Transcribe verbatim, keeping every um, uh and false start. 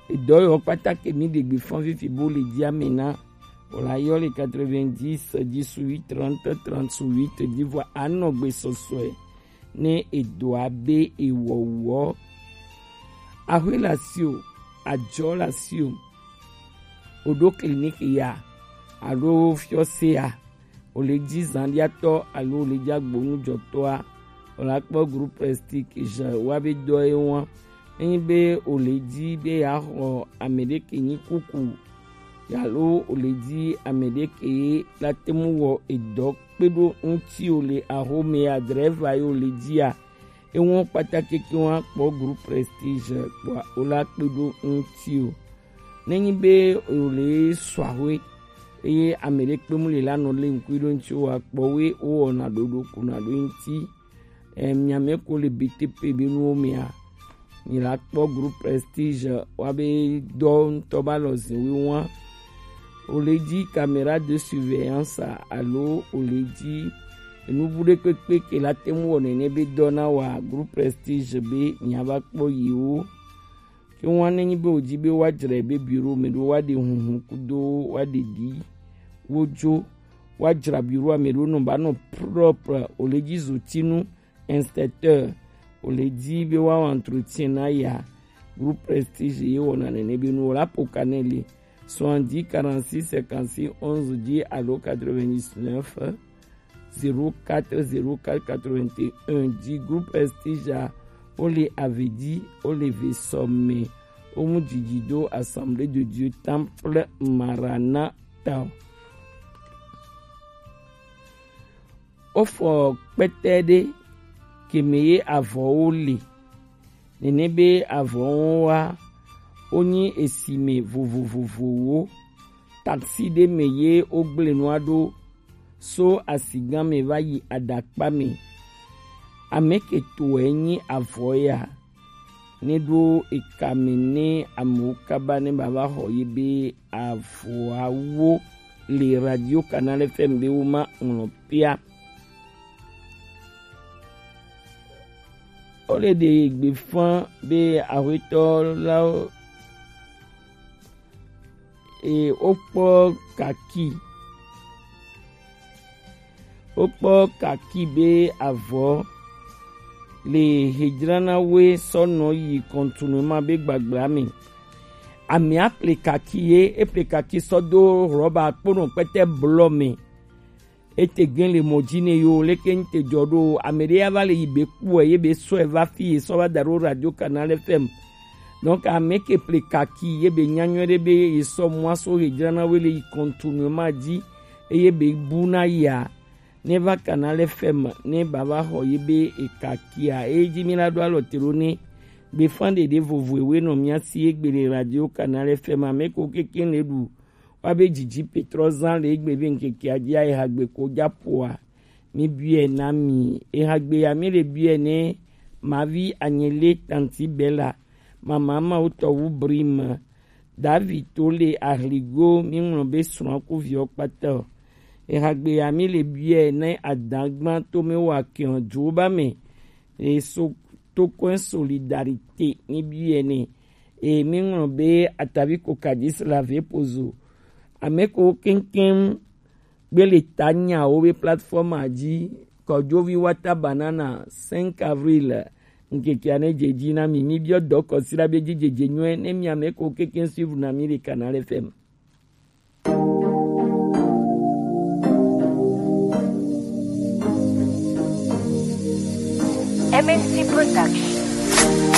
Edɔ yɔ kpata ke mi ɖe gbe fɔn fifi bo le ji ame na. O la yɔ le quatre-vingt-dix dix-huit trente trente-huit di vɔ anɔgbe sɔsɔe ne edoa be ewɔwɔ. Axwe la si o, ajɔ la si o, o ɖo clinique ya alo fiɔse ya, o le ji zandiatɔ alo o le ji agbonujɔtɔa, o la kpɔ groupe Prestige wa be dɔ ye wa. Enyi be o le ji be ya xɔ ame ɖe ke nyi kuku, alo o le ji ame ɖe ke la te mu wɔ edɔ kpe ɖo ŋuti o le axome ya, drɛva ye o le ji ya, ewɔn kpata keke wa kpɔ groupe Prestige kpɔa o la kpe ɖo ŋuti o. Nenyi be o le sɔ axwe eye ame ɖe kpe mu le la nɔ le ŋkui ɖo ŋuti o wa kpɔ we o wɔna ɖoɖo kuna ɖo ŋuti. Em, miame ko le B T P be nuwo mea, mi la kpɔ groupe Prestige wa be dɔ ŋutɔ ba lɔ zin wi wa. O le ji caméra de surveillance alo o le ji enubu ɖe kpekpe ke la te mu wɔ nene be dɔ na wa groupe Prestige be nya va kpɔ yi wo. Ke wa nenyi be o ji be wa jra be bureau me ɖo wa ɖe hunhun kudo wa ɖe ɖi wo jo, wa jra bureau ame ɖo nɔ ba nɔ propre, o le ji zotinu inspecteur, o le ji be wa wɔ entretien na ya. Groupe Prestige ye wɔna nene be nu o la po kanele soixante-dix quarante-six cinquante-six onze di alo quatre-vingt-dix-neuf zéro quatre zéro quatre quatre-vingt-un di groupe Prestige a, o le avedi, o le ve sɔme, o mu didi do Assemblée de Dieu Temple Maranatha. O fɔ kpɛtɛ ɖe ke me ye avɔwo le. Nene be avɔwo wa, o nyi esi me vovovovowo. Taxi ɖe me ye o gble nua ɖo so asigan me va yi aɖakpa me. Ame ke to e nyi avɔ ya. Ne ɖo eka me ne amewo kaba ne ba va xɔ ye be avɔawo le Radio Canal F M be wo ma ŋlɔ pia. O le ɖe gbe fã be axwetɔ lawo e, wokpɔ kaki. Wokpɔ kaki be avɔ le hedzrana woe sɔ nɔ yi kɔntunu ma be gbagbla me. Amea ple kaki ye, eple kaki sɔ do rɔba kponɔ kpɛtɛ blɔ me. Ete gen le mɔ ji ne yo, leke n te jɔ ɖo, ame ɖe ya va le yi be kpɔe, ye be sɔe va fi ye sɔ va da ɖo Radio Canal F M. Donc, ame ke ple kaki, ye be nya nyuie ɖe be ye sɔ mɔ aso he dzrana we le yi continuellement ji, eye be bu na ya, ne va Canal F M, ne ba va xɔ ye be e kaki a, e ji mi la ɖo alɔ te ɖo ne, be fan ɖeɖe vovo ewe nɔ mia si egbe le Radio Canal F M, ame ko keke le ɖu, wa be didi Petrɔ zan le egbe be ŋkeke a ji a ehagbe ko ja poa. Mi biɛ na mi. Ehagbe ya mi le biɛ ne mavi anyele tanti Bella. Mama Mawutɔwu Brim. David to le ahligo mi ŋlɔ be srɔ̃ ku viɔ kpata o. Ehagbe ya mi le biɛ ne adagban to mi wa kiɔ jo ba me. E so to kɔn solidarité mi biɛ ne. E mi ŋlɔ be atavi ko kadis la ve pozo. Ame ko keŋkeŋ gbele ta nyawo be plateforme a ji, kɔjovi wata banana cinq avril, ŋkeke ane dze dzi na mi, mi biɔ dɔ kɔsi la be dzi dze dze nyuie, ne mi ame ko keŋkeŋ suivre na mi le Canal F M. M N C Production.